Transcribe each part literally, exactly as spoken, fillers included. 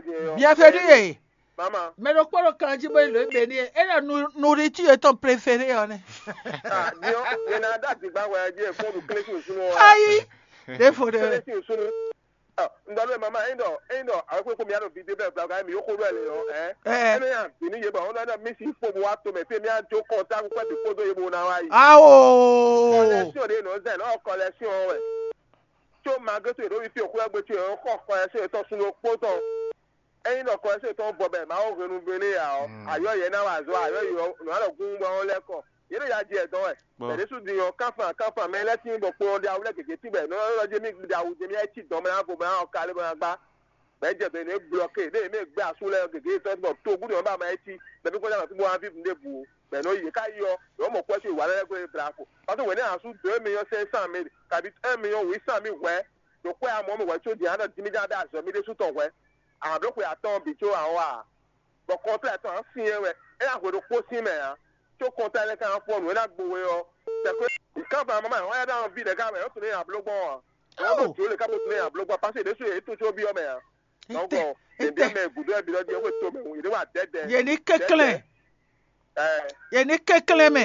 Bienvenue ye. Mama. Mɛ ɖokpó ɖo kan jí bó yi lǒ e mɛ n'i é ɖɔ nourriture yětɔn préféré ɔ́ nɛ́. Ah, diɔ, yena da digba wɛ je fo du kle kun sunu. Ayi. Ɖěvo ɖe. Kle kun sunu. Ah, ndɔ ɖe mama, eyin dɔ, eyin dɔ awe ko mi ado vidéo bɛ vla ga mi yoko ɖɔ le ɔ, eh. Eh. Ene ya vini ye ba, ona da mi si fo bo wa to me pe mi a jo contact ko de foto ye bo na wa yi. Awo. Collection de no zen, o collection wɛ. Tso magre to ɖo fi xwɛ gbe tso xɔ xɔ ɛ se tɔ sun ɖokpó tɔn. Ényí ɖɔ xɔ ɛ se tɔn bɔ bɛ Mawu hwenu gbe n'i ǎ ɔ́, ayɔ yɛ ná wa azɔ, ayɔ yɔ nɔ alɔ gún bɔ ɔ́ lɛ́ kɔ. Yě ɖo ya jɛ dɔn wɛ. Bɛ̌ ɖésú din ɔ́, kánfan kánfan mɛ lɛ́ tín bɔ kplɔ́n ɖe awu lɛ́ gěgé tín bɔ è nɔ ylɔ́ jɛ mì ɖe awu jɛ mì ɛ cí dɔn mɛ ná vo mɛ ná ɔ ka lé bɔ ná gbá. Bɛ̌ jɛ dɔn è nɔ é blɔ́ke ɖé è nɔ é gbé asú lɛ́ɛ gěgé tɔn bɔ togun ɖé ɔ́ ba ma é cí, bɛ̌ bí kɔjá nɔ fí bó wá ví nǔɖé bǔ ó. Bɛ̌ nɔ yě ká yi ɔ́, yǒ mɔ kwɛ́ sú wǎ lɛ́ɛ gbé bravo. Pásɔ wěné asú dǒ émí nyɔ́ sɛ́n sán mi, kabi émí nyɔ́ wǐ sán mi hwɛ̌, ɖo kwɛ́ amɔ̌ mɛ hwɛ̌ có din á ɖɔ jí mì já ɖó azɔ̌ mì ɖésú tɔn hwɛ̌. Ablǒ xwe atɔ́ɔ́n bǐ có a wá a? Bɔ kɔntrá tɔn ǎ syɛ́n wɛ, é ná hwe ɖokpó sín mɛ ǎ, có kɔntrá énɛ́ ka ná fɔ nǔ e ná gbo we ɔ́. Tɛ̌kɔ́ kánfan mama ɔ́ yá ɖó ví ɖɛ̌ ká mɛ, é tunwun nyi abló gbɔn ɔ́ ǎ. Ɔ́ ɖo jǒ lě ká bó tunwun nyi abló gbɔn, pásí ɖésú yě tunwun có byɔ́ mɛ ǎ. Nɔ́gbɔn, ɖěbíá mɛ gǔdo ɛ bǐ ɖɔ jí é xwe to mɛ, yě ɖé wa dɛ̌dɛ. Yě ní kɛnklɛ́n. Ɛɛ, Yě ní kɛnklɛ́n mɛ.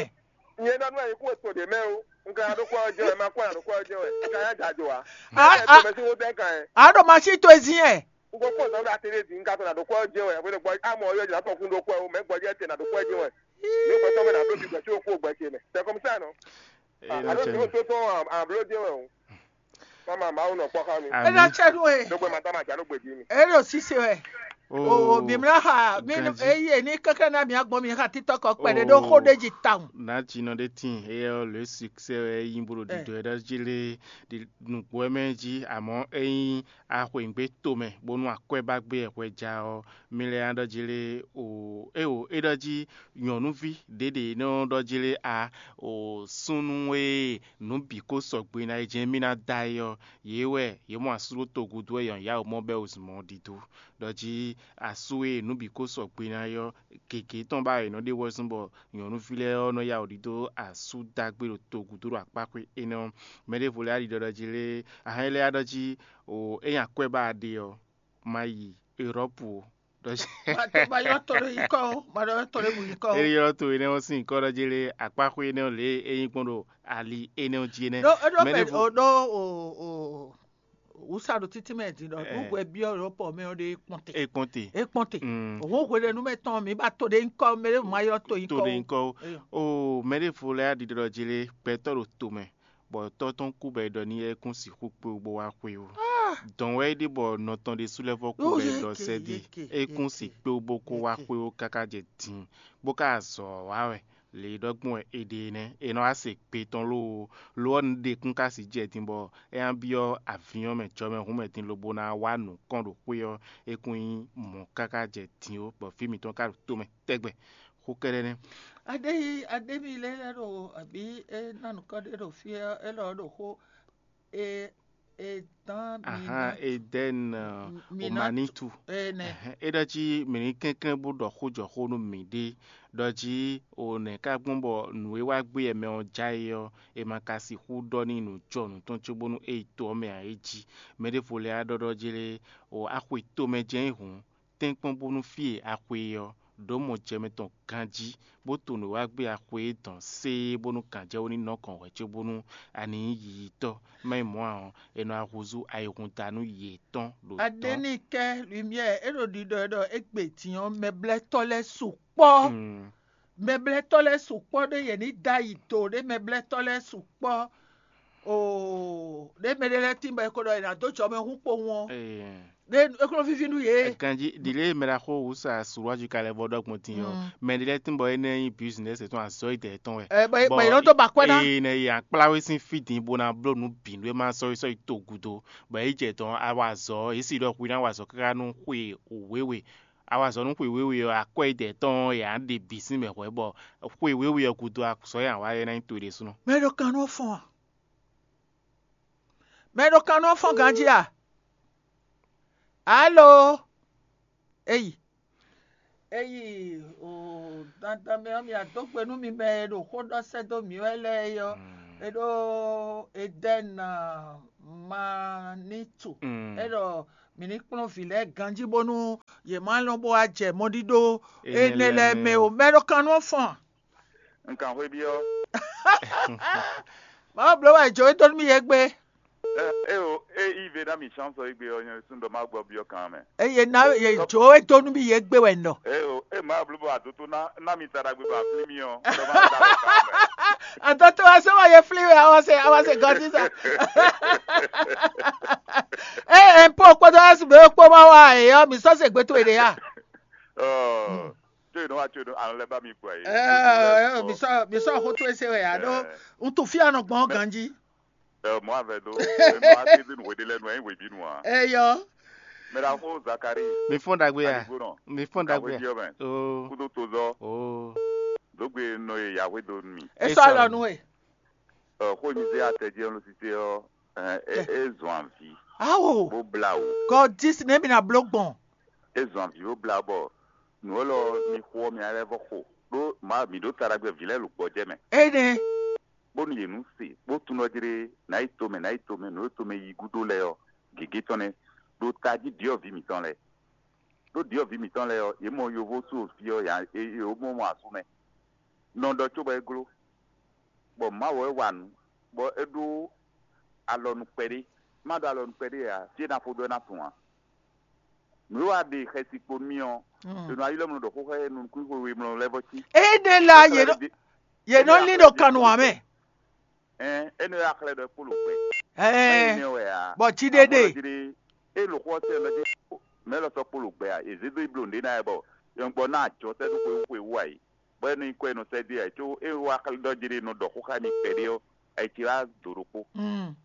Nyɛ ɖɔ nú ɛ yě kó to ɖě mɛ ó. Un ka ɖó kɔ ɔ́ jɛ wɛ, ma kó ɛ ɖó kɔ ɔ́ jɛ wɛ. Un ka yá jǎ jǒ ǎ. A, Ɛ a, to mɛ sín wó dɛ́ kan ɛ. A ɖo masín towe zín ɛ. Un ko kpɔ́n zɔn ɖo atɛɖé din, un ka to nǎ ɖó kɔ ɔ́ jɛ wɛ. Hwenu gbɔ amɔ ɔ́ yɔ jɛ nǎ tɔn kún ɖó kɔ ɛ ó, mɛ gbɔjɛ́ te nǎ ɖó kɔ ɛ jɛ wɛ. Ní gbɛtɔ́ mɛ nǎ bló bí gbɛtɔ́ ko gbɛ ce mɛ. C'est comme ça, non? Alo tí wọ́n tó tán àbló jẹ́ wẹ̀ o. Mama Mawu nɔ kpɔ́ xá mi. Ena tsɛnu e. Ɖó gbɛ ma tá ma jà ló gbè jí mi. Eno sise wɛ. O, o, bimla ha mi nu eye ni keke na mi agbɔn mi ha titɔ kɔ kpɛ de ɖo xo de ji tawun. Nati nɔ ɖe tin eyɛ le succès wɛ yi bolo ɖiɖɔ ɛ ɖe jí le ɖi nukpó ɛ mɛ jí amɔ eyin axweyǐngbe tomɛ bónú akwɛ ba gbé ɛ hwɛ ja ɔ mi lɛ ya ɖɔ jí le o e o e ɖɔ jí nyɔ̌nuví ɖěɖě nɔ ɖɔ jí le a o súnnu e nǔ bǐ ko sɔgbe ná é jɛ́n mì ná da é ɔ́, yě wɛ yě mɔ asú ɖó togudu wɛ yɔ̌nyáwǔ mɔ bɛ́ wezun mɔ ɖidó. Ɖɔ jí asú e nǔ bǐ ko sɔgbe ná é ɔ́, gěgé tɔn ba è nɔ ɖe wɛzun bɔ nyɔ̌nuví lɛ́ɛ ɔ́ nɔ yá wǔ ɖidó asú dagbe ɖo togudu ɖo akpáxwé énɛ́ ɔ́. Mɛ ɖěvo lɛ́ɛ ɖi ɖɔ jí lé ahɛn lɛ́ɛ ɖɔ jí o é nyi akwɛ́ ba ɖe ɔ́, ma yi Erɔ́pu ó. Ɖɔ jí Ma to ma ylɔ́ to ɖo yi kɔ ó, ma ɖɔ ylɔ́ to ɖo mu yi kɔ ó. Eri ylɔ́ to énɛ́ ɔ́ sín nyǐkɔ ɖɔ jí lé akpáxwé énɛ́ ɔ́ lě e é nyí gbɔn ɖo ali énɛ́ ɔ́ jí énɛ́. Ɖó ɖó Mɛ mɛ ɖěvo ɖó o o wǔsa ɖo títí mɛ din ɖɔ nú hwɛ byɔ́ Erɔ́pu mɛ ɔ́ ɖe é kpɔ́n te. É kpɔ́n te. É kpɔ́n te. Mm. Òun hwe ɖe nú mɛ tɔn mi ba to ɖe nyí kɔ mɛ ɖěvo ma ylɔ́ to yi To kɔ ɖe ó. Nyí kɔ ó. Eyɔ. O mɛ ɖěvo lɛ́ɛ ɖiɖɔ jí lé gbɛtɔ́ ɖo to mɛ, bɔ tɔ́ tɔn kú bɔ è ɖɔ n'i é kún sixú kpé wú bó wá xwé ó. Dɔn wɛ é ɖe bɔ nɔ tɔn ɖésú lɛ́ vɔ́ kú bɔ è ɖɔ sɛ́ ɖe é kún si kpé wú bó kó wá xwé ó káká jɛ din, bó ka azɔ̌ ɔ́ wá wɛ. Lě e ɖɔ gbɔn wɛ è ɖe é nɛ́, è nɔ wá se gbe tɔn lóo, lo ɔ́, nǔɖekún ka si jɛ din bɔ é ná byɔ́ avǐn ɔ́ mɛ jɔmɛ hǔn mɛ din lobo ná wá nǔ kɔn ɖo xwé ɔ́, é kún nyí mɔ̌ káká jɛ din ó, bɔ vǐ mǐtɔn ka ɖo tomɛ tɛgbɛ. Xó kɛ́ɖɛ́ nɛ́. Aɖéyi aɖémi lɛ́ɛ lɛ́ ɖo abǐ é ná nǔkɔ ɖé ɖo fí ɔ́, élɔ́ ɔ́ ɖo xó e e dán mi Ahan, ná Edɛn, mi ná Omanitu. Ene. Ɛhɛn, é ɖɔ jí mǐ ní kɛnklɛ́n bó ɖɔ xó jɔ xó nú mǐɖée, ɖɔ jí o nɛ̌ ka gbɔn bɔ nǔ e wá gbé yɛ mɛ ɔ́ já é ɔ́, è ma ka sixú ɖɔ n'i nǔ jɔ nǔ tɔn cóbónú é yi to ɔ́ mɛ ǎ é jí. Mɛ ɖěvo lɛ́ɛ á ɖɔ ɖɔ jí lé, o axwe tomɛ jɛ́n é hǔn, tɛ́nkpɔ́n bónú fí e a xwe é ɔ́, ɖǒ mɔ jɛ mɛ tɔn ganjí, bó to nǔ e wá gbé a xwe é dɔn séé bónú gǎnjɛwú ní nɔ kɔn hwɛ̌ cóbónú a ní nyí yiyitɔ́. Má nyí mɔ̌ ǎ ɔ́, è nɔ wá húzú ayihúndanú yětɔn ɖo dɔ̌n. Aɖénikɛ lumière é ɖo ɖiɖɔ ɛ ɖɔ égbé din ɔ́, mɛblɛ́tɔ́ lɛ́ɛ sukpɔ́. Mm. Mɛblɛ́tɔ́ lɛ́ɛ sukpɔ́ ɖé yě ní dó ayi do ɖé mɛblɛ́tɔ́ lɛ́ɛ sukpɔ́. Oo, ɖé mɛ ɖé lɛ́ɛ tín bɔ è ko ɖɔ è nǎ dó jɔ mɛ hún kpowun ɔ́, Ee. Ɖé é kó nɔ víví nú yě. Ganjí ɖi lě e mɛ ɖaxó wǔsa Suwájú ka lɛ́ vɔ ɖɔ gbɔn din ɔ́, Mm. Mɛ ɖé lɛ́ɛ tín bɔ énɛ́ nyí business tɔn azɔ̌ yi dɛ̌ tɔn wɛ. Ɛ, bɔ bɔ yě nɔ dó ba akwɛ́ ná. Eye nɛ yi akpláwé sín fí din bó ná bló nǔ bǐ nú é má sɔ́yi sɔ́yi to gúdo. Bɔ é jɛ dɔn a wa azɔ̌, é sì ɖɔ hwi ná wa azɔ̌ káká nú xwe wěwe. A wa azɔ̌ nú xwe wěwe ɔ́, akwɛ́ yi dɛ̌ tɔn ɔ́, yě á ɖe bǐ sín mɛ hwɛ̌ bɔ xwe wěwe ɔ́ gúdo azɔ̌ e a wa é ná nyí to ɖésúnɔ. Mɛ ɖo kan nɔ fɔn a? Mɛ ɖo kan nɔ fɔn ganjí a? Alo? Eyi. Eyi o dandan mɛ ɔ́, mi adó gbe nú mi mɛ e ɖo xó ɖɔ sɛ́ dó mǐ wɛ lɛ́ɛ é ɔ́, é ɖó Edɛn Manitu. Mm. É ɖɔ Mǐ ní kplɔ́n vǐ lɛ́ɛ ganjí bónú yě má lɔn bó wá jɛ mɔɖíɖó énɛ́ lɛ́ɛ mɛ o. Mɛ ɖo kan nú ɔ́ fɔn. Un kan xwé byɔ́. Mawu bló wɛ jǒ e dó nú mì yě gbe. É o, é yí ve ná mi chance égbé ɔ́, nyɛ ɖésú ɖɔ má gbɔ byɔ́ kan mɛ. Eye ná ye jǒ e dó nú mì yě gbe wɛ nɔ. É o, é má bló bɔ adoto ná ná mi ta ɖagbe bɔ aflí mi ɔ́, ɖɔ má da lɔ kan mɛ. Adoto wa sɛ wa ye fli wɛ awa se awa se gɔdi sa. Ee mpo kpódó ɛsibɛ kpó ma wa eye ɔ́ mi sɔ se gbé towe ɖe ya. Ɔɔ, tó yìí nɔ wá tó yìí nɔ alɔ lɛ bá mi gbɔ yìí. Ɛɛ mi sɔ mi sɔ xó towe se wɛ ya ɖó ŋutu fia nɔ gbɔn ganji. Ɛ mɔ avɛ dó. Ɛ mɔ ati dín wèdí lɛ nu ɛ wèdí nu a. Eyɔ. Mɛ ɖaxó Zakari. Mi fɔn ɖagbe ya. Aligbonɔ. Mi fɔn ɖagbe ya. Kaxwéjɔ mɛ. Oo. Kúdó tozɔ. Oo. Dógbe nɔ ye Yahweh dó nu mi. E sɔ alɔ nu e. Ɛ xó nyi zé atɛ jɛ ló sise ɔ. Ɛ ɛ e zɔn avi. Awo. Bó bla o. God dis ne mi na blo gbɔn. E zɔn avi bó bla bɔ. Nǔ élɔ́ mi xo ɔ́ mi alɛ vɔ xo. Ɖó ma mi ɖó ta ɖagbe vǐ lɛ́ɛ lǒ gbɔjɛ́ mɛ. Énɛ́. Bónú yě nú se bó tunwun ɖɔ jlé nǎ yi tomɛ nǎ yi tomɛ nǔ e tomɛ yi gúdo lɛ́ɛ ɔ́, gěgé tɔn nɛ́ ɖo tají ɖyɔ̌vǐ mǐtɔn lɛ́ɛ. Ɖó ɖyɔ̌vǐ mǐtɔn lɛ́ɛ ɔ́, yě mɔ yovó sú fí ɔ́ yě mɔ mɔ asú mɛ. Nɔ ɖɔ cóbɔ é gló, bɔ Mawu wɛ wa nǔ, bɔ é ɖó alɔ nú kpɛɖé. Má ɖó alɔ nú kpɛɖé ǎ, fí e ná fó ɖó é ná sun ǎ. Nǔ e wa ɖe xɛsi kpo nú mì ɔ́, è nɔ ayi lɛ́ mlɔ ɖɔ xóxó e nukún xwe we mlɔ lɛ́ vɔ cí. Énɛ́ la yě nɔ yě nɔ lín ɖo kannu ǎ mɛ. Ɛn énɛ́ wɛ axlɛ́ ɖɔ kpolo gbɛ. Ɛɛ Énɛ́ wɛ ǎ. Bɔ jí ɖé ɖe. Amɔ́ ɖɔ jí ɖé, é lǒ xó ɔ́ sɛ́ lɔ jí mɛ lɔ sɔ́ kpolo gbɛ a? È zě dó yi bló nǔɖé ná ɛ bɔ yɔngbɔ ná ajɔ sɛ́ ɖó xwe xwe wú a yě. Bɔ é nɔ nyí kɔ e nɔ sɛ́ dó e a yě có é wá axlɛ́ ɖɔ jí ɖé nɔ ɖɔ xó xá mi kpɛɖé ɔ́, ayǐ ce wá dǒ ɖokpó. Mm.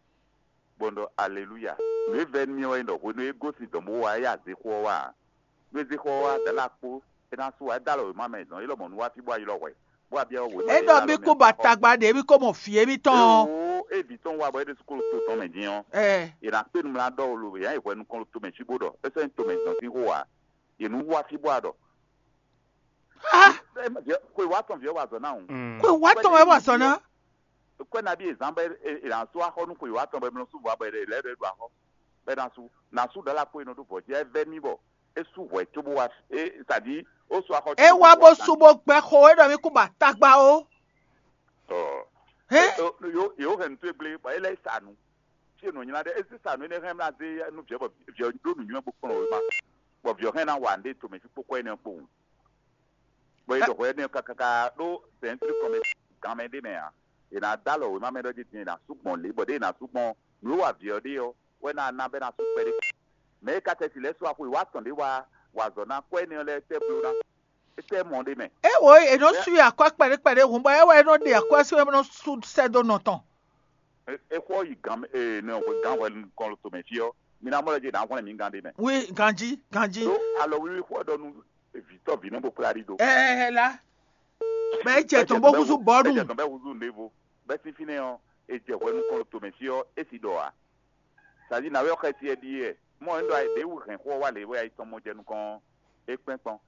Bɔ un ɖɔ aleluya. Nǔ e vɛ́ nú mì wɛ nyí ɖɔ hwenu e é gosín dɔ̌n bó wá é azixo ɔ́ wá ǎ. Nú é zé xɔ ɔ́ wá dǎ lɔ akpó, é ná sú ǎ, é dó alɔ wěma mɛ zɔn, é lɔ mɔ nú wá fí bó wá ylɔ́ hwɛ, bó wá byɔ́ wěma. É ɖɔ mì kú ba tagba ɖě mì ko mɔ vǐ émítɔn ɔ́. Ewo, é vǐ tɔn wá bɔ é ɖésú kó ɖo to tɔn mɛ din ɔ́, Ɛ, è nǎ kpé nu mlá ɖɔ lo yǎ yi hwɛ nukɔn ɖo tomɛ cí bó ɖɔ é sɔ́ nyí tomɛ zɔn sín xó ǎ. Yě nú wá fí bó wá ɖɔ. Á, Xwe wá tɔn vǐ ɔ́ wa azɔ̌ ná hǔn. Xwe wá tɔn wɛ wá azɔ̌ ná. Kɔ́ nabí è zán bɔ è nǎ sú axɔ́ nú xwe wá tɔn bɔ è nɔ sú vɔ̌ bɔ è lɛ́ ɖɔ é ɖo axɔ́. Bɔ è nǎ sú nǎ sú ɖala kpó e nɔ ɖó vɔ̌ jí é vɛ́ mì bɔ é sú hwɛ̌ cóbó wá é sadi ó sú axɔ́. É wá bó sú bó gbɛ́ xo é ɖɔ mì kú ba tagba ó. Ɔ Hɛn? Yǒ hɛn nǔ towe gblé bɔ é lɛ́ yi sa nǔ. Fí e nǔ nylá ɖe é zé sa nǔ énɛ́ hɛn mlá zé nú vǐ ɔ́ bɔ vǐ ɔ́ ɖó nǔnywɛ́ bó kplɔ́n wěma, bɔ vǐ ɔ́ hɛn ná wa nǔɖé tomɛ fí kpókpó énɛ́ kpowun. Bɔ è ɖɔ hwɛ énɛ́ kákáká ɖó sɛ̌ntrú kɔn mɛ gan mɛ ɖé mɛ ǎ. È nǎ dó alɔ wěma mɛ ɖɔ jí din è nǎ sú gbɔn lě bɔ ɖěe è nǎ sú gbɔn nǔ e wa vǐ ɔ́ ɖe ɔ́ wɛ ná ná bɔ é ná sú kpɛɖé. Mɛ e ka tɛ́ si lɛ́ɛ sú axwe wá tɔn ɖé wá wa azɔ̌ ná kɔ énɛ́ ɔ́ lɛ́ɛ tɛ́ bló ná. É tɛ́ mɔ ɖé mɛ. É wo è nɔ sú i akwɛ́ kpɛɖé kpɛɖé hǔn bɔ é wɛ é nɔ ɖe akwɛ́ sú é nɔ sú sɛ́ dó nɔ tɔn. É xɔ yi gǎn ee nɔ hwe gǎn hwɛ nukɔn tomɛ fí ɔ́, mi ná mɔ lɔ jí nǎ hwlɛ́n mi gán ɖé mɛ. Wi ganjí ganjí. Ɖó alɔ wiwi xɔ ɖɔ nú vǐtɔ́ vǐ nɔ bó kplá ɖi dó. Ɛɛ la. Bɛ é jɛ tɔn bó húzú bɔ́ nù. Ɛ jɛ tɔn bɛ húzú nɖévo. Bɛ sín fínɛ́ ɔ́, è jɛ hwɛ nukɔn tomɛ fí ɔ́, é sì ɖɔ ǎ. Sadi nǎwe ɔ́ xɛsi ɛ ɖi yɛ. Mɔ ɛ ɖɔ ayǐ ɖě wú hɛn xó ɔ́ wá lě wɛ ayi tɔn mɔ jɛ nukɔn ɔ́, é kpɛ́n kpɔ́n.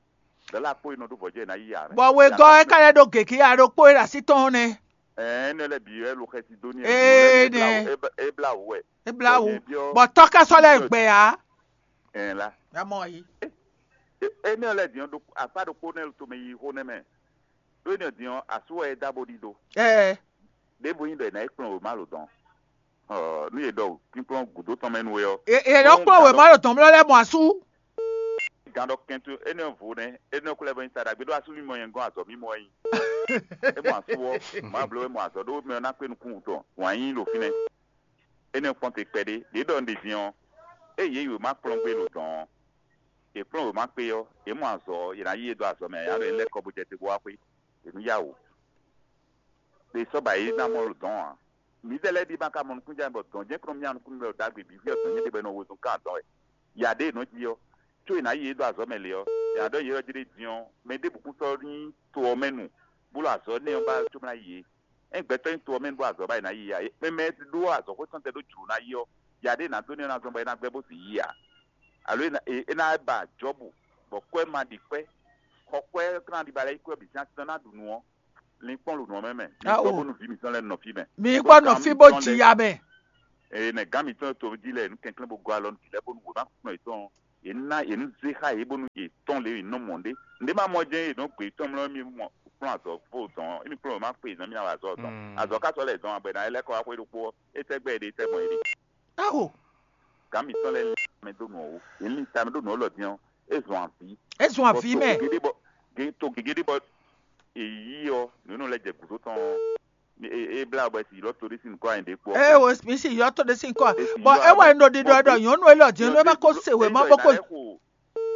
Dɔ̌la kpó e nɔ ɖó vɔ̌ jɛ ná yi ǎ. Bɔ wegɔ́ é ka lɛ́ ɖó gěgé aɖó kpó é ɖo así tɔn ɔ́ nɛ́. Ɛɛ énɛ́ lɛ́ɛ bǐ wɛ lo xɛsi dó n'i. Ee nɛ. É blá wǔ wɛ. É blá wǔ. Bɔ tɔ́ ka sɔ́ lɛ́ gbɛ ǎ. Ɛɛ la. Amɔ yi. Énɛ́ lɛ́ɛ din ɔ́, akpá ɖokpó nɛ́ tomɛ yi xó nɛ́ mɛ. Ɖó énɛ́ din ɔ́, asú wɛ é dá bó ɖidó. Ɛɛ. Ɖěbǔ nyí ɖɔ è nǎ yi kplɔ́n wěma lǒ dɔn. Nú yě ɖɔ kpínkplɔ́n gǔdo tɔn mɛ nú we ɔ́. È nɔ kplɔ́n wěma ɖo tɔn mlɔ́ lɛ́ɛ mɔ asú. Gǎn ɖɔ kɛntu énɛ́ vo nɛ́, énɛ́ kú lɛ́ vɔ nyi taɖa gbé ɖó asú mì mɔ nyɛ gɔ́n azɔ̌ mì mɔ wɛ nyi. É mɔ asú ɔ́, mǎ bló é mɔ azɔ̌ ɖó mɛ ɔ́ ná kpé nukún wutɔn wǎn yí ɖo fínɛ́. Énɛ́ kpɔ́n te kpɛɖé, ɖě ɖɔ un ɖe din ɔ́, ée yě yi wěma kplɔ́n gbé ɖo dɔ̌n ɔ́, yě kplɔ́n wěma kpé ɔ́, yě mɔ azɔ̌ ɔ́, yě ná yí yě dó azɔ̌ mɛ, yě ná ɖɔ yě lɛ́ kɔ bó jɛ te bó wá xwé, yě nú yá wǔ. Ɖe sɔ́ ba yě ná mɔ ɖo dɔ̌n ǎ. Mǐdɛɛ lɛ́ɛ ɖi ma ka mɔ nukúnjɛ bɔ dɔ̌n jɛ́n kplɔ́n mì nukúnnú wɛ ɖagbe bǐ fí ɔ́ dɔ̌n nyɛ ɖe bɔ è nɔ wezun kán dɔ̌n wɛ. Ya ɖě è nɔ ji ɔ́, có è nǎ yi yě dó azɔ̌ mɛ lě ɔ́, è nǎ ɖɔ yě ɔ́ jí ɖé din ɔ́, mɛ ɖěbǔ kún sɔ́ nyí to ɔ́ mɛ nu, bó ɖo azɔ̌ nɛ́ ɔ́ ba có ná yi yě. Ényí gbɛtɔ́ nyí to ɔ́ mɛ nu bó azɔ̌ ba è nǎ yi ǎ, mɛ mɛ e ɖó azɔ̌xwé tɔn tɛn ɖó jlǒ ná yi ɔ́, ya ɖě è nǎ dó n'i ɔ́ ná zɔ́n bɔ é ná gbɛ́ bó sì yi ǎ. Alo é ná é ná ba Jɔ́bu, bɔ kwɛ́ ma ɖi kwɛ́, xɔ kwɛ́ ɔ́ ná ɖi ba lɛ́ɛ yi kwɛ́ bǐ sín así tɔn ná ɖu nǔ ɔ́, linkpɔ́n ɖo nǔ ɔ́ mɛ mɛ. Mi gbɔ bónú vǐ mǐtɔn lɛ́ɛ nɔ fí mɛ. Mi gbɔ nɔ fí bó ji ya mɛ. Eye nɛgán mǐtɔn e toví jí lɛ́ɛ, yě nú kɛnklɛ́n bó gɔ́ alɔ nú vǐ lɛ́ɛ bónú wěma kplɔ́n yětɔn ɔ́, yě ná yě nú zé xá yě bónú yě tɔ́n lě e yě nɔ mɔ ɖě. Nǔɖé ma mɔ jɛ́n yě nɔ gbe yětɔn mlɔ́ mì mɔ kplɔ́n azɔ̌ fó dɔn ɔ́, émi kplɔ́n wěma kpe yě zɔn mí ná wa azɔ̌ ɔ́ dɔn. Azɔ̌ ka sɔ́ lɛ́ zɔn abɔ è nǎ lɛ́ kɔ wá xwé ɖokpó ɔ́, é tɛ́ gbɛ́ yě ɖe tɛ́ gbɔn yě ɖe. Aho, Gǎn mǐtɔn lɛ́ɛ lin tamɛ dó nǔ ɔ́ wú. Yě lin tamɛ dó nǔ ɔ́ lɔ din ɔ́, é zɔn avǐ. É zɔn avǐ mɛ. Gěgé ɖé bɔ gě to gěgé ɖé bɔ è yí ɔ́, nǔ énɛ́ lɛ́ɛ jɛ gǔdo tɔn ɔ́, é blá bɔ è sì ylɔ́ to ɖé sín nǔkɔ anyǐ ɖé kpó ɔ́. Ee, o, mi si ylɔ́ to ɖé sín kɔ. Bɔ é wɛ un ɖo ɖiɖɔ ɖɔ nyɔ̌nu élɔ́ din nú é ma ko se wěma bó ko.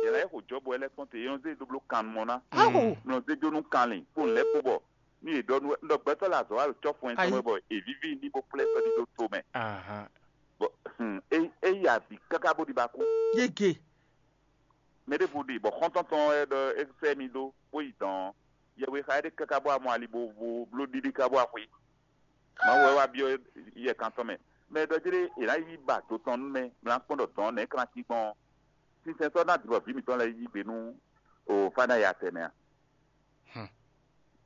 Yě ná yɛ xo jɔ́bɔ lɛ́ɛ kpɔ́n te, é nɔ zé dó bló kan mɔ ná. Aho. Nɔ zé dó nú kanlin kpó nǔ lɛ́ɛ kpó bɔ nú yě ɖɔ nú ɖɔ gbɛtɔ́ lɛ azɔ̌ wa ɖo cɔ́fu ɛn tɔn mɛ bɔ è víví ní bó kplá ɛ sɔ́ ɖi ɖó to mɛ. Bɔ é yi avǐ káká bó ɖi ba kú. Yege. Mɛ ɖěvo ɖi bɔ xɔ́ntɔn tɔn wɛ ɖɔ é sɛ́ mi dó bó yi dɔn ɔ́, yɛhwe xa éɖée káká bó wá mɔ ali bo vo bló ɖiɖi ká bó wá xwé. Mawu wɛ wá byɔ́ yɛ kan tɔn mɛ. Mɛ e ɖɔ jlé è nǎ yi ba do tɔn nú mɛ, mlá kpɔ́n ɖɔ dɔ̌n nɛ̌ kan cí gbɔn ɔ́, sinsɛn sɔ́ ná dǐbɔ vǐ mǐtɔn lɛ́ɛ yí gbe nú o fá ná ya tɛnmɛ a?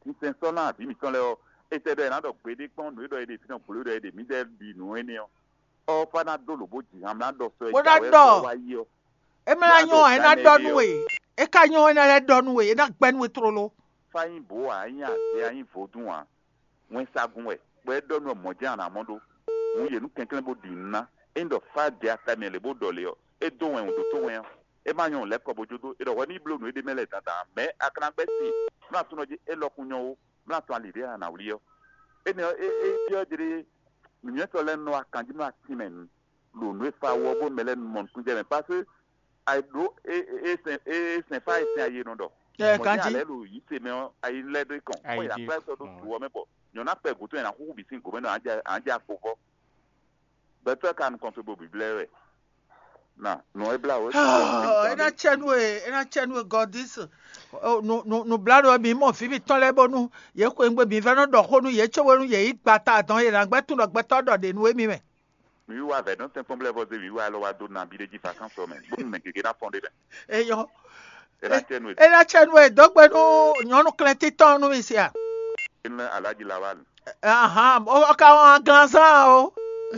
Sinsɛn sɔ́ ná vǐ mǐtɔn lɛ́ɛ ɔ́, é tɛ́ ɖɔ è nǎ ɖɔ gbeɖé kpɔ́n nǔ e ɖɔ è ɖe fínɛ́ gblo e ɖɔ è ɖe mǐdɛɛ ɖi nǔ énɛ́ ɔ́, ɔ́ fá ná dó lǒ bó ji han mlá ɖɔ sɔ e Bó ná jǎwe ɖɔ. Sɔ wá yi ɔ́. É mlá nyɔ́ ɔ́, é ná ɖɔ nú we. É ka nyɔ́ ɔ́, é ná lɛ́ ɖɔ nú we, é ná gbɛ́ nú we tlóló. Fá nyí bǒ ǎ, é nyí azě ǎ, é nyí vodún ǎ. Wɛnsagun wɛ, bɔ é ɖɔ nú ɔ́ mɔ̌ jɛ́n a nǎ mɔ ɖó. Hǔn yě nú kɛnklɛ́n bó ɖi nǔ ná. Ényí ɖɔ fá ɖe ata mɛ lě bó ɖɔ lě ɔ́, é dó wɛn wǔ ɖótó wɛn ɔ́, é má nyɔ́ lɛ́ kɔ bó jó dó. È ɖɔ hwɛ ní bló nǔ éɖée mɛ lɛ́ɛ dandan ǎ, mɛ̌ a ka ná gbɛ́ sin? Mlá tún nɔ jí é lɔ kun nyɔ́ ó, mlá tún ali ɖě a nǎ wlí ɔ́. Énɛ́ ɔ́, é é byɔ́ jlé nǔnywɛ́tɔ́ lɛ́ɛ nɔ wá kanjí nú atín mɛ nu, ɖo nǔ e fa wú ɔ́ bónú mɛ lɛ́ɛ nu mɔ nukúnnú jɛ mɛ. Paseke ayǐ ɖó é é sɛn é sɛn fá ayisɛn ayi e nɔ ɖɔ. Ɛ Mɔ̌ kanjí. Jɛ́n a lɛ̌ ɖo yǐ ce mɛ ɔ́, ayi lɛ́ ɖó kɔn, bɔ è nǎ kplá ɛ sɔ́ ɖó dǔ ɔ́ mɛ bɔ nyɔ̌nu akpɛ gǔdo ɛ nǎ xúxú bǐ sín gǒmɛ nɔ ǎ jɛ ǎ jɛ akpo vɔ. Gbɛtɔ́ ka nukɔn towe bo bǐblɛ́ wɛ. Na nɔ e blá wǒ. É ná cɛ nú e é ná cɛ nú e gɔdís. Nǔbláɖó ɔ́, mǐ mɔ vǐ mǐtɔn lɛ́ɛ bónú yě xweyǐgbe mǐ vɛ́ nɔ ɖɔ xó nú yě cóbónú yě yí gbata dɔn yě ná gbɛ́ tún ɖɔ gbɛtɔ́ ɖɔ ɖě nú émí mɛ. Mǐ wá vɛ̌ nɔ tɛ́nkpɔ́n blɛ́ vɔ zé mǐ wá lɔ wá dó nabí ɖé jí fa kán sɔ mɛ, bónú mɛ gěgé ná fɔ́n ɖé lɛ́ɛ. Eyɔ. É ná cɛ nú e. É ná cɛ nú e dó gbe nú nyɔ̌nu klɛ́ntín tɔn nú mi sia. É ná alájí la wá. Ahan, o ka wɔn aglanzán o.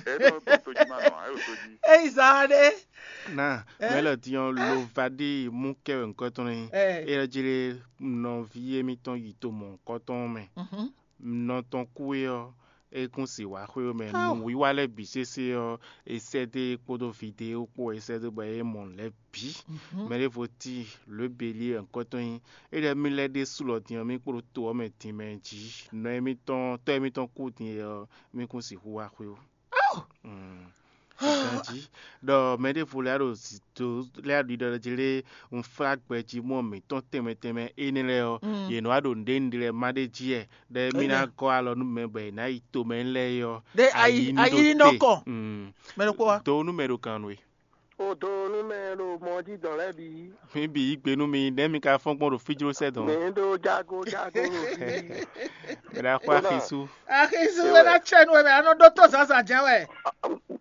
É nɔ gbɔn tó jí má nɔ, ayé ò tó jí. Eyi zan ɖe. Na mɛ lɔ diɔn lo va ɖi mú kɛ wɛ ŋkɔ tɔn ní. Ɛ. É lɔ jí lé nɔví émítɔn yi to mɔ ŋkɔ tɔn mɛ. Mhm. Nɔ tɔn kú é ɔ́, é kún si wá xwé mɛ. Nǔwiwa lɛ́ɛ bǐ sésé ɔ́, é sɛ́ dó é kpódó vidéo kpó é sɛ́ dó bɔ é mɔ nǔ lɛ́ɛ bǐ. Mɛ ɖěvo tíin lǒ e Beli wɛ ŋkɔ tɔn nyí. É lɛ́ mì lɛ́ ɖésú lɔ din ɔ́, mì kpo ɖo to ɔ́ mɛ din mɛ jí. Nɔ émítɔn tɔ́ émítɔn kú din é ɔ́, mì kún sixú wá xwé ó. Ganjí ɖɔ mɛ ɖěvo lɛ́ɛ ɖo zǐdó lɛ́ɛ ɖiɖɔ jí lé un flá gbɛjí mɔ mǐtɔn tɛnmɛ tɛnmɛ énɛ́ lɛ́ɛ ɔ́, yě nɔ wá ɖo nǔɖé nǔɖé lɛ́ɛ má ɖé jí wɛ, ɖɔ émí ná gɔ́ alɔ nú mɛ bɔ è nǎ yi tomɛ lɛ́ɛ é ɔ́, ɖe ayi ayi nɔ kɔ. Mɛ ɖokpó wa. Do nú mɛ ɖo gǎn nú we. O do nú mɛ ɖo mɔ jí dɔn lɛ́ɛ bǐ. Mi bǐ yí gbe nú mi, nɛ̌ mi ka fɔ́n gbɔn ɖo fíjló sɛ́ dɔn? Mi ɖo jago jago ɖo fí. Mɛ ɖo axɔ axisú. Axisú wɛ ná tsɛ nú wɛ mɛ anɔ ɖó tó zǎnzǎn jɛ́n wɛ.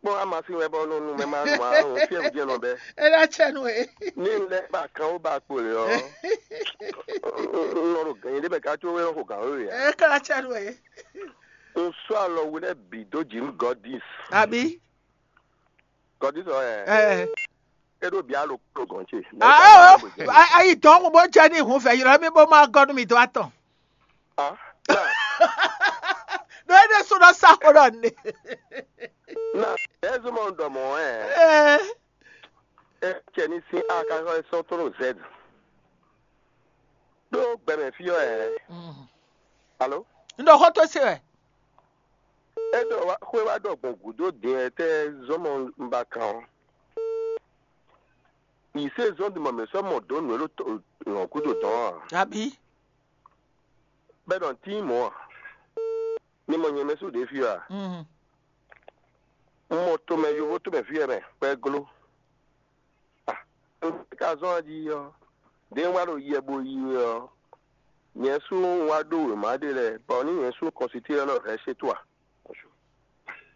Kpɔ́n amasin wɛ bɔ nɔ nu mɛ ma nu ma nu fiɛ wǔ jɛ nɔ bɛ. É ná tsɛ nú wɛ. Ní n lɛ ba kan ó ba kpo lè ɔ́. N nɔ ɖo gɛ̀nyìn ɖé mɛ ká có wé xo gǎn wéwe ǎ. É ká ná tsɛ nú wɛ. N sɔ́ alɔ we lɛ́ɛ bǐ dó jǐ nú Gɔdis. Àbí? Gɔdis ɔ́ ɛ. Ɛ. É ɖo bǐ alo kpló gɔn ce. Ayi dɔn mo bó jẹ ní ìhun fẹ yọrọ mi bó má gọ nú mi dó atọ. Ɖó é ɖésú lɔ sá xó ɖɔ ní. Na ɛ zɔmɔ ɖɔ mɔ ɛ. Ɛ. Ɛ cɛ ní sín a ka xɔ sɔ́ tó ɖo zɛd. Ɖó gbɛmɛ fí ɔ́ ɛ. Alo. N ɖɔ xó tó se wɛ. É ɖɔ xwé wá ɖɔ gbɔn gǔdo din ɛ tɛ zɔmɔ un ba kan ɔ́. Yǐ se zɔ́n din mɔ mǐ sɔ́ mɔ dǒ nǔ e ɖo lɔ̌n gúdo dɔn ɔ́ ǎ. Abǐ. Bɛ́ ɖɔ tín mɔ̌ ǎ. Mi mɔ nyɛ mɛ sú ɖě fí ɔ́ a? Un mɔ tomɛ yovo tomɛ fí ɛ mɛ kpɛ́ gló. Ah, un ka zɔ́n ají ɔ́, ɖě un wá ɖo yɛ bo yi wɛ ɔ́, nyɛ sú un wá ɖó wěma ɖé lɛ́ɛ, bɔ ní nyɛ sú kɔnsitílɛ́ nɔ hɛ̌ sé tó a?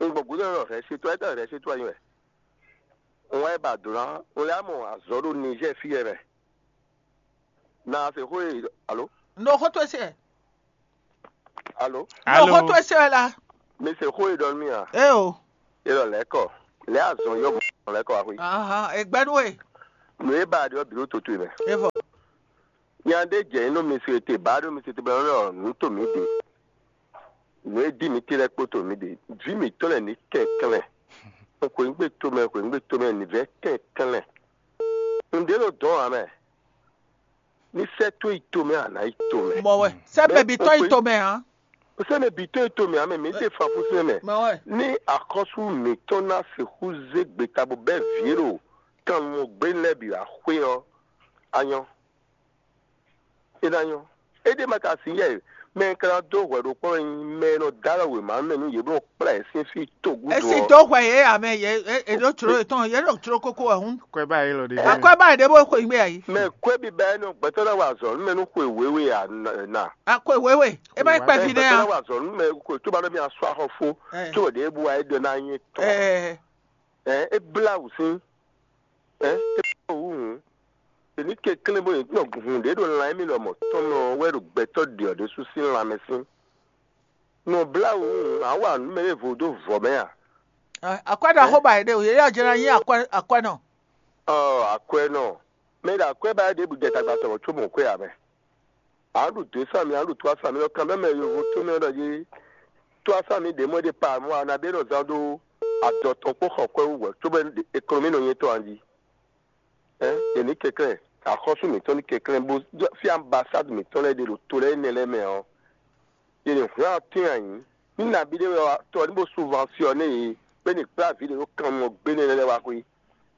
Un gbɔn gǔdo nɔ hɛ̌ sé tó a, é tɛ́ hɛ̌ sé tó a nyí wɛ? Un wá yi ba dǒ ná, un lɛ́ mɔ azɔ̌ ɖo Nizɛ́ɛ fí ɛ mɛ. Na se xó e alo? N ɖo xó towe se. Alo? N ɖo xó towe se wɛ la. Mi se xó e ɖɔ nú mì a? Ee o. Elɔ lɛ́kɔ, lɛ́ azɔn yɔ́ mɔ lɛ́kɔ axwé. Ahan, e gbɛ́ nú we. Nǔ e ba ɖe ɔ́ bǐ ɖo toto e mɛ. E vɔ. Nya ɖé jɛ nyi nú mi se te, ba ɖo mi se te bɔ nɔ nǔ to mǐ ɖe. Nǔ e dí mǐ te lɛ́ɛ kpó to mǐ ɖe. Vǐ mǐtɔn lɛ́ɛ ní kɛnklɛ́n. Xweyǐgbe tomɛ, xweyǐgbe tomɛ ní vɛ́ kɛnklɛ́n. Nǔɖé ɖo dɔn ǎ mɛ. Ní sɛ́ tó yi tomɛ a nǎ yi tomɛ. Mɔ wɛ. Sɛ́ bɛbí tɔn yi tomɛ ǎ. Sɛ́ mɛ bǐ tó yi tomɛ ǎ mɛ, mǐ se fanfúnsin mɛ. Mɔ wɛ. Ní axɔ́sú mǐtɔn ná sixú zé gbeta bó bɛ́ vǐ e ɖo kannumɔ gbé lɛ́ɛ bǐ wá xwé ɔ́, a nyɔ́. É ná nyɔ́. É ɖé ma ka sin yɛ mɛ e ka ná dó hwɛ ɖokpó wɛ nyí mɛ e nɔ dó alɔ wěma mɛ nú yě bó nɔ kplá yě sín fí togúdo. Esi dó hwɛ yě ame yě e ɖó jló yětɔn yě ɖo jló kókó wɛ hún. Kwɛ ba yé lɔ ɖe. Akwɛ ba ɖě bó xwe gbé ayi. Mɛ kwɛ bi bɛ nɔ gbɛtɔ na wa azɔ nú mɛ nú xwe wéwé a na. Akwɛ wéwé. E ma kpɛ bi nɛ gbɛtɔ na a. Wa azɔ nú mɛ xwe tó ba ɖɔ mi asɔ axɔ fó. Tó ɖě bu wa é ɖɔ na nyɛ tɔn. Ɛ ɛ é bla wǔ sín. Ɛ é bla wǔ hǔn. Èní kɛnklɛ́n bó nyɛ nɔ hun ɖě ɖo lan émí lɔmɔ̌ tɔn mɛ ɔ́ wɛ ɖo gbɛtɔ́ ɖě ɔ́ ɖésú sín lanmɛ sín. Nɔ bla wǔ hǔn, a wa nǔ mɛ ɖěvo dó vɔ̌ mɛ a? Akwɛ́ ɖaxó ba yě ɖe o, yě yɔ jɛ ná nyí akwɛ́ akwɛ́nɔ. Ɔ akwɛ́nɔ. Mɛ ɖo akwɛ́ ba ɖěbǔ jɛ tagba tɔn có mɔ kwɛ́ ǎ mɛ. A ɖu dǒ sami, a ɖu tó asami ɔ́, kanɖɔ mɛ yovo tó mɛ ɖɔ jí tó asami ɖě mɔ ɖě pa mɔ a nǎ ɖe nɔ zán ɖó adɔ tɔn kpó xɔ kwɛ́ wú hwɛ̌ cóbɔ ekonomi nɔ nyɛ tɔn a jí. Ɛ yě ní kɛnklɛ́n, axɔ́sú mǐtɔn ní kɛnklɛ́n bó fí ambasádu mǐtɔn lɛ́ɛ ɖe ɖo to lɛ́ɛ énɛ́ lɛ́ɛ mɛ ɔ́, yě ní hwlɛ́n atín ayǐ. Ní nabí ɖé wɛ tɔ ní bó subvansiɔ́né yě bó ní kplá vǐ ɖě ɖo kannumɔ gbénɛ́ lɛ́ɛ wá xwé.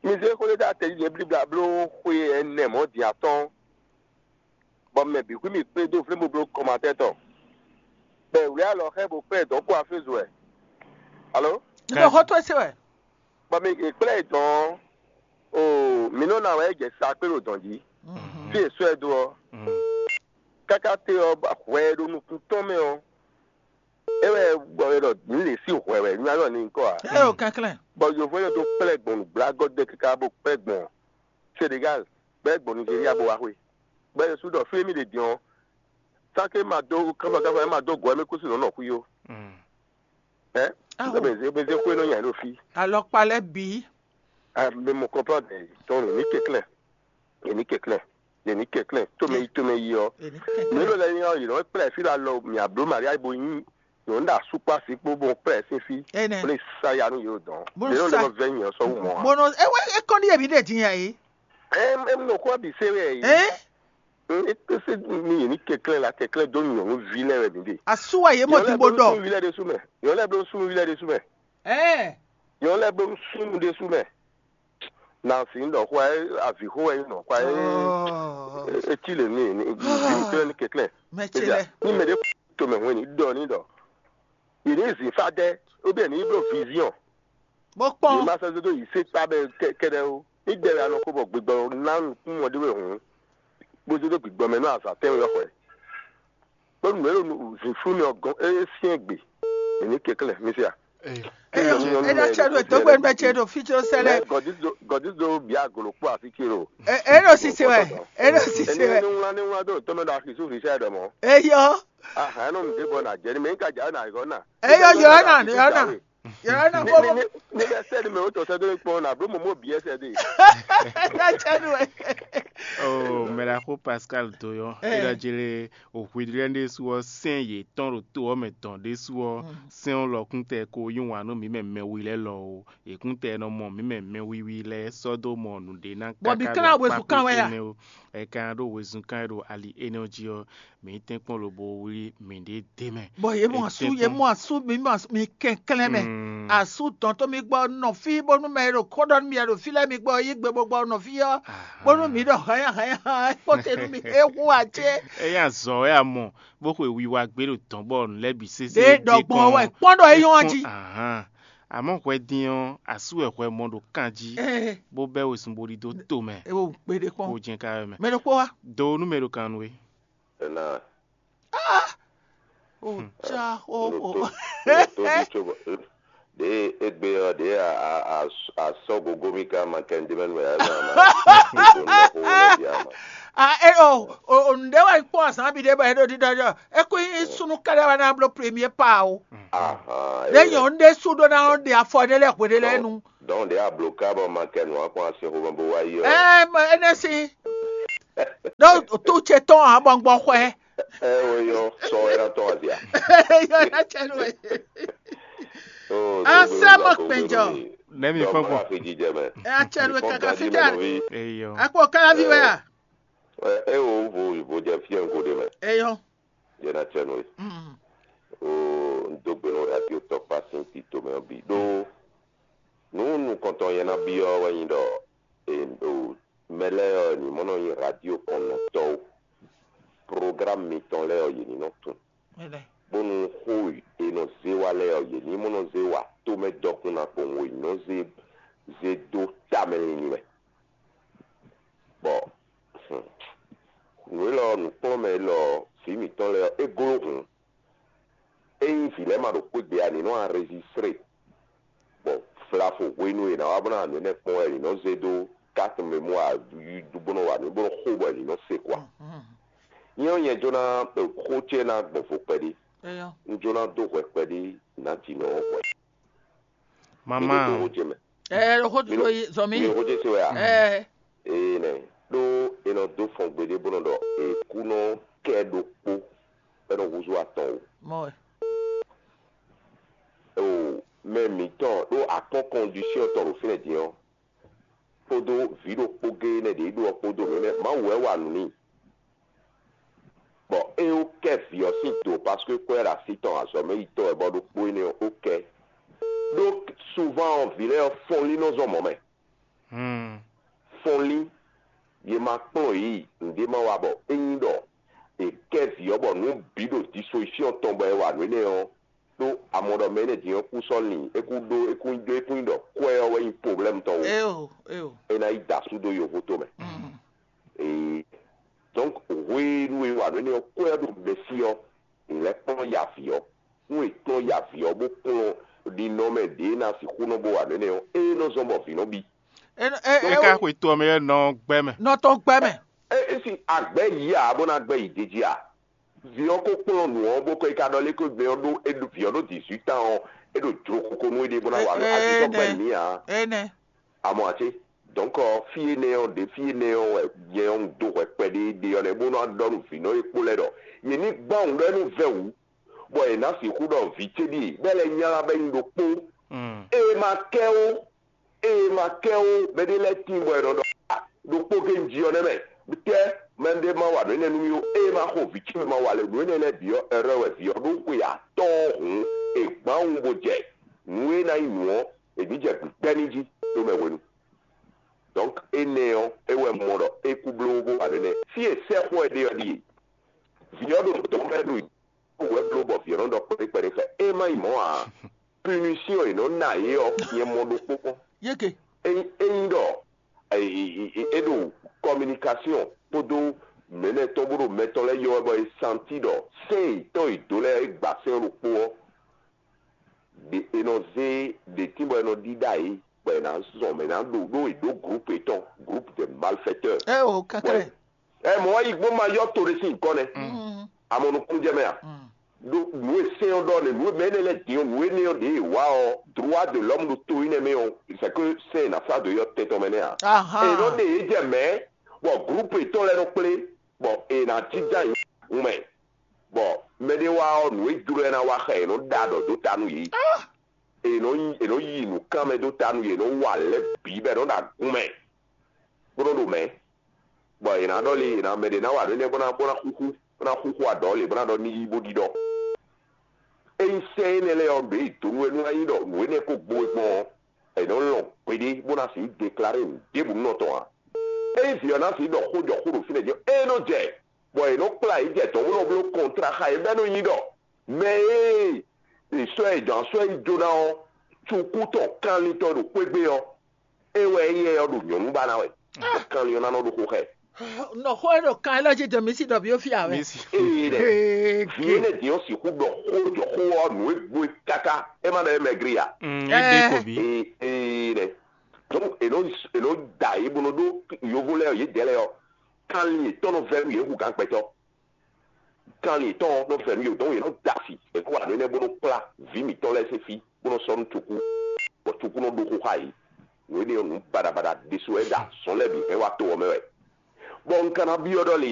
Mi zé xó ɖé dó atɛ jí ɖě blíblá bló xwe ɛnɛ mɔ̌ din atɔ́ɔ́n, bɔ mɛ bǐ xwí mì kplé dó vlémbobló kɔmatɛ́ tɔn, bɔ è wlí alɔ xá ɛ bó kplá ɛ dɔ̌n kpó afézu wɛ. Alo? Ɖo xó tó se wɛ. Bɔ mi è kplá ɛ dɔ̌n ɔ́, oo, mǐ nɔ ná wɛ é jɛ sa kpé ɖo dɔ̌n jí. Fí è sɔ́ ɛ dó ɔ́, káká te ɔ́, hwɛ e ɖo nukún tɔn mɛ ɔ́, é wɛ bɔ è ɖɔ mǐ lě sí hwɛ wɛ, mi ma ɖɔ ni nyí kɔ ǎ. É ɖo kɛnklɛ́n. Bɔ yovo énɛ́ dó kplá ɛ gbɔn nǔgblágɔ́ dɛ́ káká bó kplá ɛ gbɔn Senegal, bɔ é gbɔn Nigeria bó wá xwé. Bɔ é ɖésú ɖɔ fí e mì ɖe din ɔ́, sáké ma dó kánfɔkánfɔ, é ma dó gɔ̌, é mì kú sí nɔ̌ nɔ xwí ó. Ɛ? Aho. Mɛ zé mɛ zé xwé nɔ nya ɖo fí. Alɔkpa lɛ́ɛ bǐ. Mɛ mɔ kɔnplɔ́n dɛ tɔn ní kɛnklɛ́n. Ní kɛnklɛ́n. Ní kɛnklɛ́n. Tómɛ yi tómɛ yi ɔ́. Èní Mɛ kɛnklɛ́n. Lɔ lɛ nyɔ yìí nɔ kplá fí la lɔ mì abló Maria bo nyi nyɔ̌nu ɖo asúkpá sí kpó bó kplá ɛ sín fí. Énɛ́. Bó lè sa ya nú yě dɔn. Bó Mɛ lɔ sa- lɛ vɛ nyɛ sɔ́ wú mɔ. Bó nɔ ewé ekɔ́ ní yěmí ɖe din yɛ yìí. Ɛ ɛ nɔ kó abi sé wɛ yìí. Ɛ Ɛ, é kpé sé ní yě ní kɛnklɛ́n la kɛnklɛ́n dó nyɔ̌nuví lɛ́ɛ wɛ mǐ ɖe. Asú wa yě mɔ Nyɔ̌nu lɛ́ɛ bló súnnuví lɛ́ɛ ɖésú mɛ. Nyɔ̌nu lɛ́ɛ bló súnnuví lɛ́ɛ ɖésú mɛ. Ɛ Nyɔ̌nu lɛ́ɛ bló súnnu ɖésú mɛ. Na sì ń ɖɔ xó ɛ avǐ xó wɛ nyí nɔ xó ɛ. Ɔ É tí lè ní ní ní kɛnklɛ́n ní kɛnklɛ́n. Mɛ ce Ebia, lɛ. Ní mɛ ɖé to mɛ hwɛn ní ɖɔ ní ɖɔ. Yě ní zǐn fá dɛ́, ó bɛ́ ní bló viziɔn. Bó Yě kpɔn. Má sɛ́ dó yi sé kpá bɛ kɛ́ɖɛ́ ó. Ní dɛ wɛ a nɔ xó bɔ gbigbɔ ná nukún mɔ ɖé wɛ hǔn, bó zé dó gbigbɔ mɛ nú azǎn tɛ́nwe ɔ́ xwɛ. Bónú nǔ e ɖo zǐnflú mɛ ɔ́ gɔ́n é syɛ́n gbe. È ní kɛnklɛ́n, mi se a? Eyo, Nyɔ̌nu e ɖɔ lɛ́ɛ cɛ ɖo ɖo tó gbé gbɛ cɛ ɖo fí có sɛ lɛ. Gɔdízo bia golo kpó así ce ɖo. E ɖo sise wɛ, e ɖo sise Ene wɛ. Ní wlán ní wlán dó tɔmɛ ɖo axi sú fi sɛ ɖɔ mɔ. Eyɔ. Ahàn nɔ mi dé bɔ nà jẹ ní mɛ ní ka jà nà yɔ nà. Eyɔ yɔ nà yɔ nà. Yàrá náà Ní kó ní ní ní bẹ́ẹ̀ sẹ́ni mẹ́ o tọ̀ sẹ́dọ̀ ní kpɔn náà, bro mọ̀ mọ́ bí ẹ sẹ́dọ̀. Ẹ jẹ́ nu ẹ. O mɛɖaxó Pascal Doyɔ, Ɛ. Eɖɔ jele òhwi lɛ́ɛ ɖésú ɔ́, sɛ́n yětɔn ɖo to ɔ́ mɛ tɔn ɖésú ɔ́, sɛ́n ɔ́ lɔkún tɛ ko yí wǎn nú mǐ mɛ mɛwi lɛ́ɛ lɔ o. Yě kún tɛ nɔ mɔ mǐ mɛ mɛwiwi lɛ́ɛ sɔ́ dó mɔ nǔɖé ná Bɔ mǐ káká ká ɖo ná wezun akpá kán wɛ a? Énɛ́ o. Ɛ ka ɖó wezun kán e ɖo ali énɛ́ ɔ́ jí ɔ́, mǐ tɛ́nkpɔ́n lobo wlí mǐɖée d'é mɛ. Bɔ yě mɔ asú, yě mɔ asú, mi mɔ asú, mi kɛnklɛ́n mɛ. Asú dɔn tó mi gbɔ nɔ fí bónú mɛ e ɖo kó ɖɔ nú mi wɛ ɖo fí lɛ́ɛ mi gbɔ yí gbe bó gbɔ nɔ fí ɔ́, bónú mi ɖɔ hɛn hɛn hɛn kpɔ́ te nú mi é hu ǎ cé. Ényí azɔ̌ wɛ a mɔ, bó xwe wiwa gbé ɖo dɔ̌n bɔ nǔ lɛ́ɛ bǐ sésé Ɖě ɖɔ gbɔn wɛ kpɔ́n ɖɔ é nyɔ́ jí. Ahán. Àmọ́ hwɛ din ɔ́, asú wɛ hwɛ mɔ ɖo kan jí, Ee, bó bɛ́ wezun bo ɖidó to mɛ, é wo kpeɖé kpɔn. Kó jɛ́n ká wɛ mɛ. Mɛ ɖokpó wá. Do nú mɛ ɖo kan nú we. Ena. O ja o o. Ɖe egbe ɔ ɖe asɔ gogo mi ka ma kɛ ndé mɛ nɔ ya ma ma. Ah, e o o o nǔɖé wɛ kpɔ́n azǎn bǐ ɖé bɔ é ɖo ɖiɖɔ ɖɔ é kún nyí súnnu kɛ́ɖɛ́ wɛ ná bló premier pa o. Ɖé nyɔ̌nu ɖé sú ɖó ná ɖe afɔ ɖé lɛ́ɛ hwe ɖé lɛ́ɛ nu. Donc ɖě abloká bɔ ma kɛ nǔ akpɔn asin xomɛ bó wá yi ɔ́. Ɛ mɛ énɛ́ sín ɖó tó ce tɔn ǎ bɔ gbɔ xwɛ. Ɛ o yɔ sɔ ɛ ná tɔn azia. Yɔ ná cɛ nú ɛ. Asɛ mɔ kpɛnjɔ. Nɛmi fɔn kpɔn. Afi jijɛ mɛ. Ɛ acɛ nú ɛ kaka fi tɛ. Eyo. Akpɔ kalavi wɛ a. Ɛ o vo vo jɛ fiɛ nko ɖe mɛ. Eyɔ. Jɛ na cɛ nú ɛ. Mm. O n dó gbe nú radio tɔkpa sín tito mɛ ɔ́ bǐ ɖó nǔ nukɔntɔn yɛ ná byɔ́ wɛ nyi ɖɔ e o mɛ lɛ́ɛ ɔ́ ní mɔ nɔ nyi radio kɔnnɔtɔ́ ó. Programme mitɔn lɛ́ɛ ɔ́ yě ní nɔ tunwun. Mɛ lɛ. Bónú xó e è nɔ zé wá lɛ́ɛ ɔ́, yě ní mɔ nɔ zé wa tomɛ dɔkun ná kpowun e è nɔ zé zé dó tamɛ linlin mɛ. Bɔ nǔ élɔ́ nǔkplɔ́nmɛ élɔ́ vǐ mǐtɔn lɛ́ɛ ɔ́, é gló hǔn. Ényí vǐ lɛ́ɛ ma ɖo xwé gbe ǎ, ní nɔ anrezistré, bɔ vlavo hwenu e è nǎ wá bó ná nǔ énɛ́ kpɔ́n wɛ è nǐ nɔ zé dó carte mémoire bó nɔ wa nǔ bó nɔ xo bɔ è nǐ nɔ se kɔ a? Nyɛ ɔ́, nyɛ jló ná xó ce ná gbɔn vo kpɛɖé. Un jló ná dó hwɛ kpɛɖé nǎjínɔ ɔ́ hwɛ. Mama. Xó ce mɛ. Ɛ xó Mi lo- zɔmi. Mi xó ce se wɛ a? Ɛ Ee nɛ, ɖó è nɔ dó fɔn gbeɖé bó nɔ ɖɔ è kú nɔ kɛ ɖokpó bɔ é nɔ húzú atɔn o. Mɔ wɛ. O mɛ mǐtɔn ɖó akpɔ́n kɔndisiyɔn tɔn ɖo fínɛ́ din ɔ́, kpódó vǐ ɖokpó géé nɛ́ ɖě ɖó ɔ́ kpódó nǔ énɛ́ Mawu wɛ wa nǔ n'i. Bɔ é ó kɛ vǐ ɔ́ sín do, paske kwɛ́ ɖo así tɔn azɔ̌ mɛ yi tɔn wɛ bɔ ɖokpó énɛ́ ɔ́ ó kɛ. Ɖó souvent ɔ́, vǐ lɛ́ɛ ɔ́ fɔnlín nɔ zɔn mɔ̌ mɛ. Fɔnlín, yě ma kplɔ́n yě yi, nǔɖé ma wa bɔ é nyí ɖɔ è kɛ vǐ ɔ́ bɔ nǔ bǐ ɖo disposition tɔn bɔ è wa nǔ énɛ́ ɔ́, ɖó amɔ ɖɔ mɛ énɛ́ din ɔ́ kú sɔ́ lin, é kú ɖó é kú nyí ɖó é kú nyí ɖɔ kwɛ́ ɔ́ wɛ nyí problème tɔn o. Eo, eo. É ná yi da asú dó yovo tomɛ. Ee, donc hwenu e wa nǔ énɛ́ ɔ́ kwɛ́ ɔ́ ɖo mɛsí ɔ́, è lɛ́ kplɔ́n ya avǐ ɔ́. Nú è kplɔ́n ya avǐ ɔ́ bó kplɔ́n ɖinɔmɛ ɖě ná sixú nɔ bó wa nǔ énɛ́ ɔ́, é nɔ zɔ́n bɔ vǐ nɔ bí. É nɔ- é- É é- ka xwe to ɔ́ mɛ é nɔ gbɛ mɛ. Nɔ tɔn gbɛ mɛ. É é si agbɛ̌ yí ǎ bó ná gbɛ yi dejí a? Vǐ ɔ́ ko kplɔ́n nǔ ɔ́ bó kɔ yi ka ɖɔ lé ko gbɛ ɔ́ ɖó é ɖo vǐ ɔ́ ɖó dix-huit ans ɔ́, é ɖo jlokoko nú éɖée bó ná wa Ɛ- azǐ tɔn gbɛ énɛ́. Mǐ ǎ. Énɛ́. Amɔ ati, donc ɔ, fí énɛ́ ɔ́ ɖě fí énɛ́ ɔ́ wɛ nyɛ ɔ́ un dó hwɛ kpɛɖé ɖe ɔ́ nɛ́ bó nɔ́ ɖɔ nú vǐ nɔ e kpó lɛ́ɛ ɖɔ yě ní gbán wǔ ɖɔ é nú vɛ́ wǔ, bɔ è nǎ sixú ɖɔ vǐ ce ɖíe bɛ́ lɛ́ nylá bɛ́ nyí ɖokpó. Ée ma kɛ ó, ée ma kɛ ó, mɛɖé lɛ́ɛ tíin bɔ è nɔ ɖɔ "Ah, ɖokpó géé un ji ɔ́ nɛ́ mɛ, tɛ́ mɛɖé ma wa nǔ énɛ́ nú mì ó, ée ma xo vǐ ce ma wa lě nǔ énɛ́ lɛ́ɛ bǐ ɔ́, ɛrɛ wɛ vǐ ɔ́ ɖó xwe atɔ́ɔ́n hǔn è gbǎn wú bó jɛ nǔ e ná nyí nǔ ɔ́, è nǐ jɛ gbǐgbɛ́ ní jí ɖó mɛ hwenu. Donc énɛ́ ɔ́, é wɛ mɔ ɖɔ é kú bló bó wa nǔ énɛ́. Fí e sɛ́xɔ ɛ ɖe ɔ́ ɖíe: vǐ ɔ́ ɖo dɔ̌n bɔ é ɖo hwɛ bló bɔ vǐ ɔ́ nɔ ɖɔ kpɛɖé kpɛɖé xɛ. É má nyí mɔ̌ ǎ, punition e nɔ ná yě ɔ́, nyɛ mɔ ɖokpó kpɔ́n. Yeke. Ényí ényí ɖɔ é ɖo communication kpódó mɛ̌nɛ tɔn bó ɖo mɛ tɔn lɛ́ɛ ylɔ́ wɛ bɔ è santi ɖɔ sɛ́n yětɔn e dǒ lɛ́ɛ é gba sɛ́n ɖokpó ɔ́, ɖe è nɔ zé ɖě tín bɔ è nɔ ɖíɖá yě, bɔ è nǎ zɔn mɛ ná ɖo ɖó è ɖó groupe yětɔn, groupe de malfaiteurs. Ɛ o Bɔ kaká. Ɛ mɔ̌ wá yi gbɔn ma yɔ to ɖé sín nyǐkɔ nɛ́. Amɔ nukúnnú jɛ mɛ a? Ɖó nǔ e sɛ́n ɔ́ ɖɔ nɛ́, nǔ e mɛ énɛ́ lɛ́ɛ din ɔ́, nǔ énɛ́ ɔ́ ɖě e wǎ ɔ́, droit de l'homme ɖo to énɛ́ mɛ ɔ́, c'est que sɛ́n e nǎ sá dǒ é ɔ́ tɛn tɔn mɛ nɛ́ a? È nɔ ɖe yě jɛ mɛ̌, bɔ groupe yětɔn lɛ́ɛ nɔ kplé, bɔ è nǎ jínjɔ́n ayǐ hun mɛ, bɔ mɛɖé wá ɔ́, nǔ e jló ɛ ná wa xá è nɔ ɖa ɖɔ dó ta nú yě. È nɔ nyi è nɔ yi nǔkanmɛ dó ta nú yě, è nɔ wa lɛ̌ bǐ bɔ è nɔ ɖo agun mɛ, bó nɔ ɖo mɛ̌, bɔ è nǎ ɖɔ lé, è nǎ mɛ ɖě ná wa nǔ énɛ́ bó ná bó ná xúxú bó ná xúxú aɖɔ̌ lě bó ná ɖɔ ní yí bó ɖiɖɔ. Ényí sɛ́n énɛ́ lɛ́ɛ ɔ́ ɖě yi dǒ nú é nú ná nyí ɖɔ nǔ énɛ́ ko gbo é gbɔn ɔ́, è nɔ lɔn gbeɖé bó ná sixú deklaré nǔ ɖěbǔ nɔ tɔn ǎ. Ényí vǐ ɔ́ ná sixú ɖɔ xó jɔ xó ɖo fínɛ́ din ɔ́, é nɔ jɛ, bɔ è nɔ kplá yě jɛ dɔ̌n bó nɔ bló kɔntrá xá yě bɔ é nɔ nyí ɖɔ mɛ e è sɔ́ ɛ dɔn asɔ́ e jó ná ɔ́, cukú tɔn kanlin tɔn ɖo xwé gbe ɔ́, é wɛ éyɛ́ ɔ́ ɖo nyɔ̌nu ba ná wɛ. Kanlin ɔ́ ná nɔ ɖo xo xɛ. Nɔ xó e ɖo kan élɔ́ jí dɔn mǐ sí ɖɔ bǐ ó fí ǎ wɛ. Mǐ sí. Eye ɖɛ Ee, vǐ ke. Énɛ́ din ɔ́ sixú ɖɔ xó jɔ xó ɔ́ nǔ e gbo é káká é má ɖɔ é mɛ grí ǎ. Mm, é ɖe Ɛɛ. Ko bí. Ee ee ɖɛ. Donc è nɔ è nɔ da yě bó nɔ ɖó yovo lɛ́ɛ ɔ́, yě dɛ̌ lɛ́ɛ ɔ́. Kanlin yětɔn nɔ vɛ́ nú yě hú gǎn gbɛtɔ́. Kanlin yětɔn nɔ vɛ́ nú yě, dɔn yě nɔ da asi, è kó wa nǔ énɛ́ bó nɔ kplá vǐ mǐtɔn lɛ́ɛ sín fí bó nɔ sɔ́ nú cukú, bɔ cukú nɔ ɖó xó xá yě. Nǔ énɛ́ ɔ́, nǔ baɖabaɖa ɖésú wɛ é ɖo azɔ̌ lɛ́ɛ bǐ hɛn wá to ɔ́ mɛ wɛ. Bɔ un ka ná byɔ́ ɖɔ le